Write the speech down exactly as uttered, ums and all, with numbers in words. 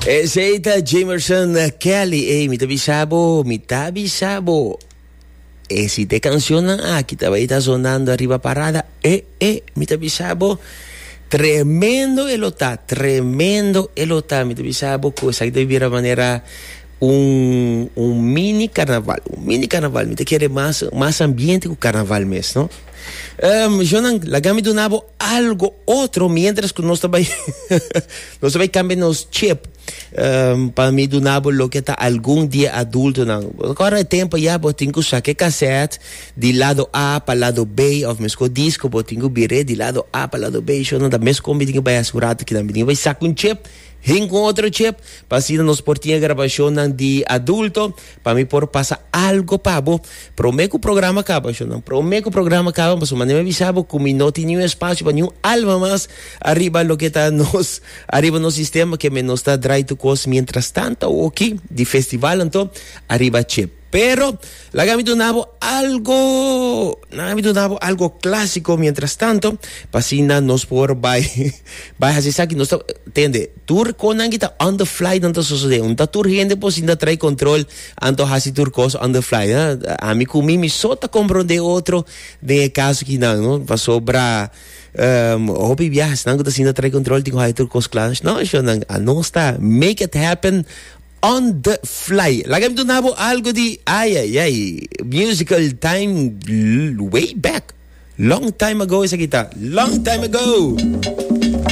Esey ta Jamerson Kelly. Ey, mi ta bisa bo, mi ta bisa bo. E si e cancionnan aki tabata ta sonando ariba parada, e, e, mi ta bisa bo. Tremendo e lo ta, tremendo e lo ta. Mi ta bisa bo, cu esaki ta bira manera un, un mini carnaval, un mini carnaval. Mi ta kere mas, mas ambiente cu carnaval mes, no? Um, Jonan, laga mi duna bo algo otro mientras cu nos tambe nos tambe cambia nos chip um, pa mi duna bo loke ta algun di e adultonan. Awor e tempo ya bo tin cu saca cassette di lado A pa lado B of mes disco, bo tin cu bira di lado A pa lado B. Jonan, da mes con mi tin cu bay asegura cu tambe tin bay saca un chip hin cu otro chip pa asina nos por tin grabacion di adulto pa mi por pasa algo pa bo prome cu programa caba. Jonan, prome cu programa caba, mas manera mi bisa bo cu mi no tin ningun espacio pa ningun alma mas ariba loke ta nos ariba nos sistema, cu nos ta draai tur cos mientras tanto aki di festival, anto ariba chip. Pero laga mi duna bo algo, laga mi duna bo algo clasico mientras tanto, pa asina nos por bay bay haci esaki. Nos tende tur cosnan ta on the fly, nan ta sucede. Un ta tur hende por sinta trai control, anto haci tur cos on the fly. Eh? Ami cu mi mi so ta comprende otro den caso aki nan, no? Pasobra um, hopi biaha nan ta sinta trai control, tin cu tur cos cla. No, nan nos ta make it happen on the fly. Laga mi duna bo algo di, ay, ay, ay, musical time way back. Long time ago esaki ta. Long time ago.